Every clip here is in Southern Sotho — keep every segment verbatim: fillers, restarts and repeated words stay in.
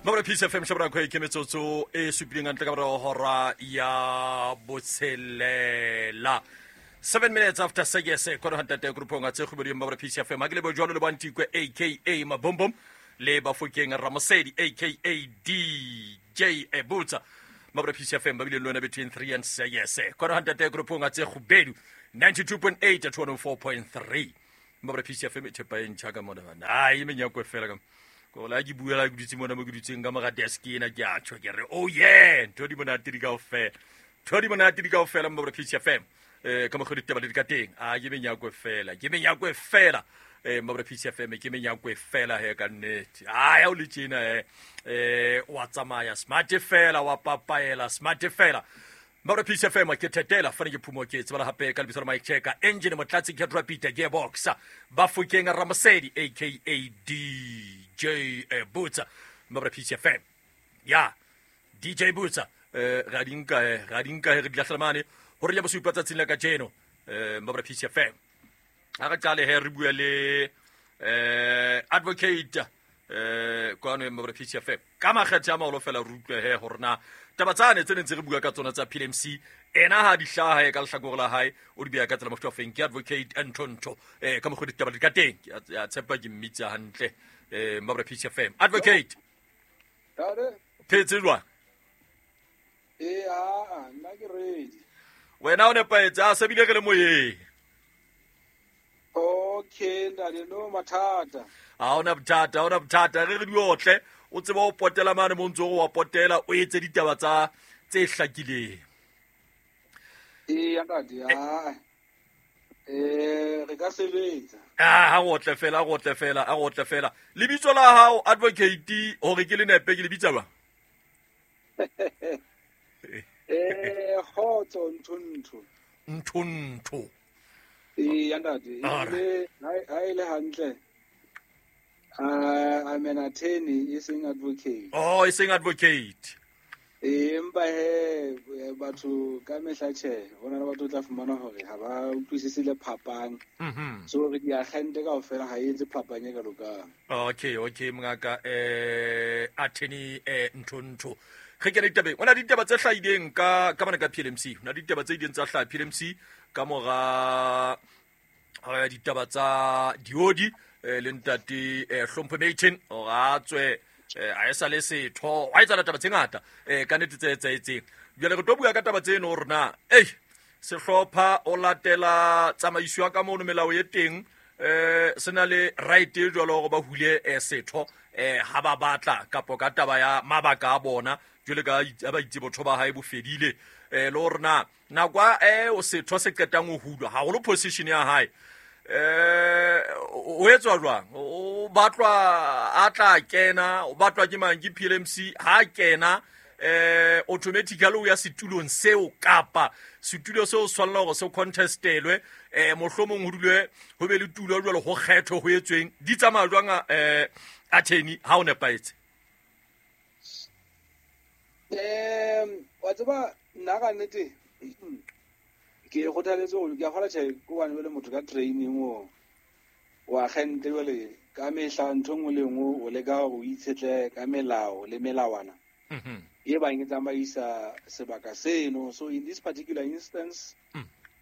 Mabra Peace F M shabra kwa ke metsotso e supileng ntle ka morao hora ya botshelela. Seven minutes after six kwa hantate groupong a tse khubedi Mabra Peace F M. Akile bo jwalo le bantikwe aka Mabombom le Bafokeng Ramosedi aka D J Ebutsa. Mabra Peace F M ba bile lona between three and six. Kwa hantate groupong a tse khubedi ninety-two point eight at one oh four point three. Mabra Peace F M e thepa e ntjha ka mona bana. Ai menyako fela ka. Ko la ke buela ke dutse mona mo ke dutseng ka mora desk ena ke a tjho ke re oh yeah ntho di monate di kaofela. Ntho di monate di kaofela Mabra Peace F M. Eh ka mokgwa ditaba di ka teng. A ke menyako fela, ke menyako fela. Eh Mabra Peace F M ke menyako fela he ka nnete. A ya o le tjena he. Eh wa tsamaya smart fela wa papaela smart fela. Mabra Peace F M ke thetela fane ke phumo ke tsebala hape ka lebitso la Mike Checker engine motlatsi ke Rapita gearbox Bafokeng Ramosedi aka D J Butsa Mabra Peace F M ya D J Butsa eh ra dinka eh ra dinka re diahlamane hore ya bosupa tsatsing la kajeno eh Mabra Peace F M a re qale he re bua le eh advocate eh kwano Mabra Peace F M ka makgethe a maholo fela re utlwe he hore na taba tsane tse nentse re bua ka tsona tsa P L M C ena ha di hlaha e ka lehlakore la hae o di bea ka tsela mofuta feng ke advocate Antonto eh ka mokgwa ditaba di ka teng ke a tshepa ke mmitsa hantle eh Mabra Peace F M advocate Tare phetse jwang eh a nna ke ready wena o nepahetse a sebile re le moyeng. Okay ndale no mathata ha ona bothata ha ona bothata re re di otle o tseba o potela mane mo ntse o wa potela o etse ditaba tsa tse hlakileng. Eh ntate ha eh re ka sebetsa ah ha go tle fela go tle fela a go tle fela lebitso la hao advocate hore ke le nepe ke lebitsa ba eh khotso ntho ntho ntho eh ntate le ha ile hantle. Uh, I'm an attorney, e seng advocate. Oh, e seng advocate. Eh, empa he batho ka mehla tjhe, hona le batho tla fumana hore ha ba utlwisise le phapang. Mhm. So re di agente kaofela ha e etse phapang e ka lokang. Okay, okay mongaka eh attorney eh ntho ntho. Re kene ditabeng. Hona ditaba tse hlahileng ka ka bana ka P L M C. Hona ditaba tse ileng tsa hlaha P L M C ka mora eh ditaba tsa diodi eh le ntate eh Hlompho Maton hore a tswe a e sa le setho wa etsa taba tse ngata eh ka nnete tse etsahetseng. Jwale re tlo bua ka taba tseno hore na ei sehlopha o latela tsamaiso ya ka mono melao e teng eh sena le right e jwalo hore ba hule setho eh ha ba batla kapo ka taba ya mabaka a bona jwale ka ba itse botho ba hae bo fedile eh le hore na nako eh o setho se qetang ho hulwa haholo position ya hae eh o etswa jwang o batlwa a tla kena o batlwa ke mang ke P L M C ha kena eh automatically o ya setulong seo kapa setulo seo tshwanela hore se contestelwe eh mohlomong ho dulwe ho be le tulo jwalo ho kgetho ho etsweng di tsamaya jwang eh attorney ha o nepahetse. Eh wa tseba nna ka nnete ke kgothaletse hore ke a kgola tjhe ko bane le motho ka training o wa agente jwale ka mehla ntho nngwe le nngwe o leka hore o itshetle ka melao le melawana mhm e bang e tsamaisa sebaka seno. So in this particular instance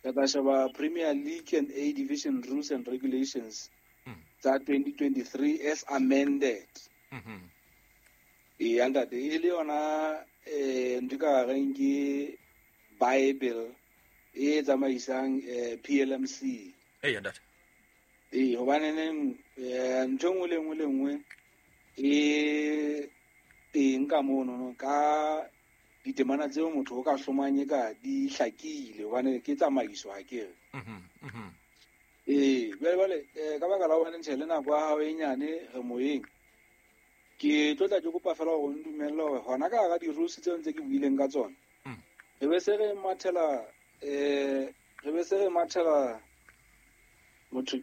re tla sheba Premier League and A Division Rules and Regulations tsa twenty twenty-three as amended. Mhm e ntate e le yona eh ntho ka reng ke Bible e tsamaisang P L M C. Eh ntate. Eh hobane neng ntho nngwe le nngwe le nngwe e teng ka mono no ka ditemana tseo motho o ka hlomanye ka di hlakile hobane ke tsamaiso ha ke re. Mhm mhm. Eh jwale jwale ka baka la hobane ntjhe le nako ya hao e nyane re moyeng. Ke tlo tla ke kopa fela hore o ndumelle hore hona ka hara di-rules tseo ntse ke buileng ka tsona. Re be se re mathela eh re be se re mathela motho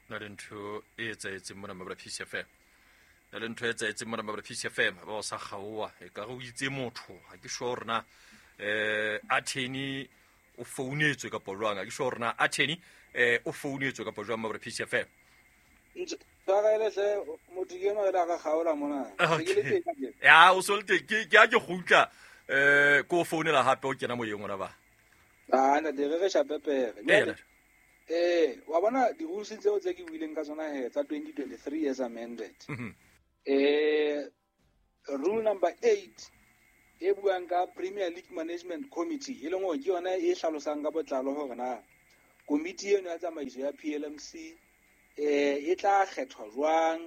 na le ntho e etsahetseng mona Mabra Peace F M na le ntho e etsahetseng mona Mabra Peace F M ba o sa kgaoha e ka re o itse motho ha ke sure hore na eh attorney o founetswe kapa jwang ha ke sure hore na attorney eh o founetswe kapa jwang Mabra Peace F M. Tshwarele hle motho ke enwa re kgaola mona. Okay. Ya o so le teng ke ke a ke gutla eh ko founela hape o kena moyeng ona ba. Ah ntate re re shapepere. Eh wa bona di-rules tseo tse ke buileng ka tsona he tsa twenty twenty-three as amended. Mm-hmm. Eh rule number eight e buang ka Premier League Management Committee e leng hore ke yona e hlalosang ka botlalo hore na komiti eno ya tsamaiso ya P L M C eh e tla kgethwa jwang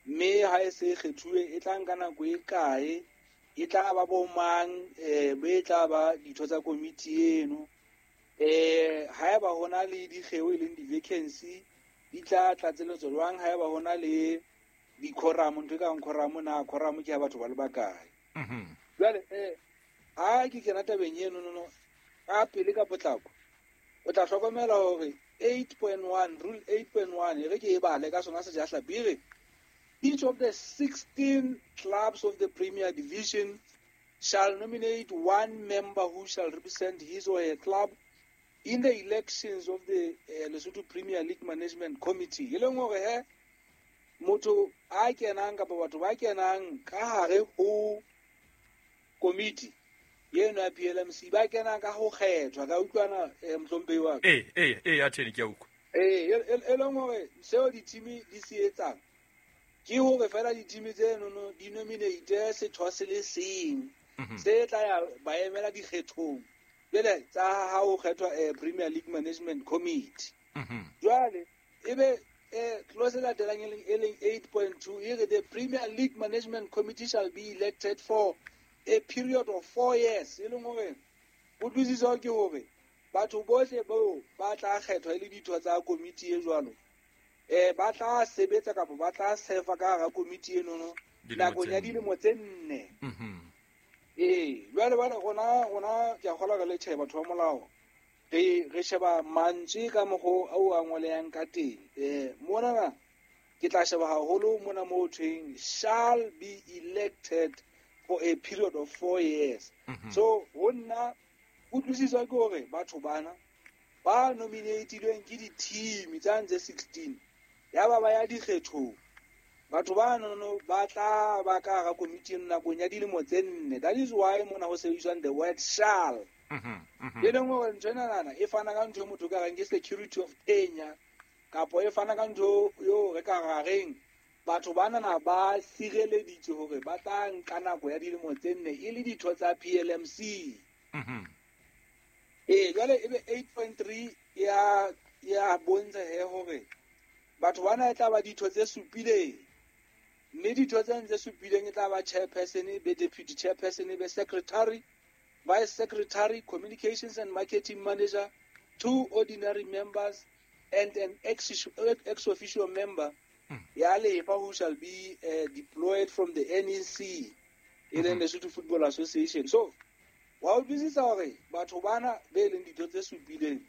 mme ha e se kgethuwe e tla nka nako e kae e tla ba bo mang eh be tla ba ditho tsa komiti eno eh haeba hona le dikgeo e leng di-vacancy di tla tlatseletswa jwang haeba hona le di-quorum ntho e kang quorum na quorum ke ya batho ba le bakae. Mhm. Jwale eh ha ke kena tabeng eno no no ka pele ka potlako o tla hlokomela hore eight point one rule eight point one e re ke e bale ka sona sejahlapi e re each of the sixteen clubs of the Premier Division shall nominate one member who shall represent his or her club in the elections of the uh, Lesotho Premier League Management Committee. E leng hore he motho a kenang kapa batho ba kenang ka hare ho komiti eno ya P L M C ba kena ka ho kgethwa ka utlwana mohlomphehi wa ka. Eh eh eh ya tshene ke a utlwa. Eh e leng hore seo di-team di se etsang ke hore fela di-team tseno no di nominate setho se le seng se tla ya ba emela dikgethong jwale tsa ha ho kgethwa Premier League Management Committee. Jwale ebe eh clause e latelang e leng eight point two e re the Premier League Management Committee shall be elected for a period of four years. E leng hore kutlwisiso ke hore batho bohle bao ba tla kgethwa e le ditho tsa komiti e jwalo eh ba tla sebetsa kapa ba tla sefa ka hara komiti eno no nakong ya dilemo tse nne. Mhm. Eh jwale bana rona rona ke a kgolwa re le tjhe batho ba molao re re sheba mantswe ka mokgo ao a ngolehang ka teng. Eh mona ke tla sheba haholo mona mo thweng shall be elected for a period of four years. Mm-hmm. So ho nna kutlwisiso ke hore batho bana ba nominatilweng ke di-team tsa ntse sixteen ya ba ba ya dikgethong batho ba nono ba tla ba ka hara komiti nakong ya dilemo tse nne. That is why mona ho sebediswang the word shall. Mm-hmm. E leng hore ntho enana e fana ka ntho e motho ka reng ke security of tenure kapo e fana ka ntho eo re ka rareng batho banana ba sireleditswe hore ba tla nka nako ya dilemo tse nne e le ditho tsa P L M C. Mhm. Eh jwale ebe eight point three ya ya bontsha he hore batho bana e tla ba ditho tse supileng mme ditho tse tse supileng e tla ba chairperson, be deputy chairperson, be secretary, vice secretary, communications and marketing manager, two ordinary members and an ex ex officio member ya lefa who shall be uh, deployed from the N E C e leng Lesotho Football Association. So wa utlwisisa hore batho bana be leng ditho tse supileng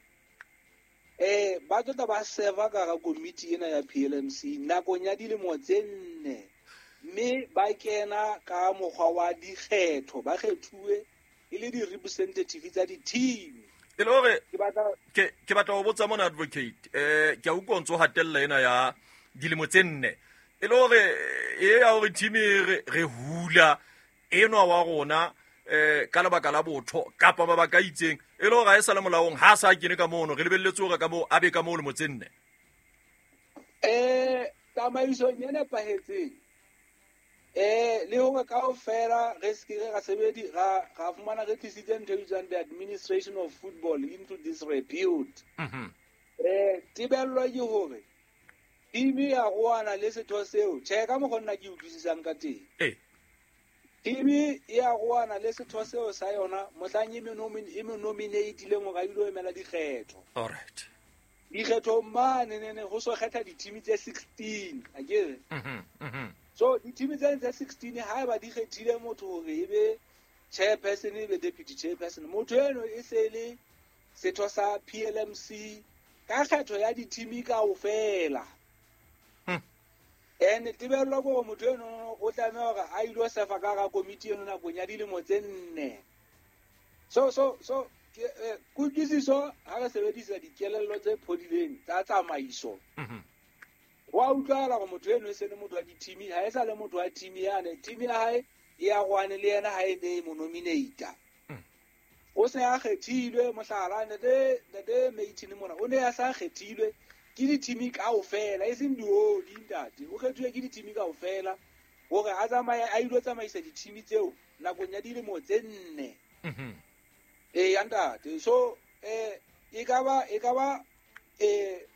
eh ba tlo tla ba serva ka hara komiti ena ya P L M C nakong ya dilemo tse nne mme ba kena ka mokgwa wa dikgetho ba kgethuwe e le di-representative tsa di-team. E le hore ke batla ke ke batla ho botsa mona advocate eh ke a utlwa ntso hatella ena ya dilemo tse nne e le hore e ya hore team re re hula enwa wa rona eh ka lebaka la botho kapa mabaka a itseng e le hore ha e sa le molaong ha sa kene ka mono re lebelletse hore ka moo a be ka moo lemo tse nne. Eh tsamaisong e nepahetseng eh le hore kaofela re se ke ra sebedi ra ra fumana re tlisitse ntho e bitswang the administration of football into this repute. Mhm. Eh tebello ke hore team ya roana le setho seo tjhe ka mokgwa nna ke utlwisisang ka teng. Eh team ya roana le setho seo sa yona mohlang e me nominatileng hore a ilo emela dikgetho. All right. Dikgetho mane ne ne ho so kgetha di-team tse sixteen akere. Mhm. Mhm. So di-team tse tse sixteen haeba di kgethile motho hore e be chairperson e be deputy chairperson motho eno e se le setho sa P L M C ka kgetho ya di-team kaofela. And tebello ke hore motho eno o tlameha hore a ilo sefa ka hara komiti eno nakong ya dilemo tse nne. So so so kutlwisiso ha re sebedisa dikelello tse phodileng tsa tsamaiso Mhm. Wa utlwahala gore motho eno e se le motho wa di-team, ha e sa le motho wa team yane. Team ya hae e arohane le yena ha e ne e mo nominata. O se a kgethilwe, mohlala, ntate ntate Maitini mona o ne a sa kgethilwe ke di-team kaofela, e seng diodi, ntate. O kgethuwe ke di-team kaofela hore a tsamaye a ilo tsamaisa di-team tseo nakong ya dilemo tse nne. Mhm. Ee, ya ntate. So eh e ka ba e ka ba eh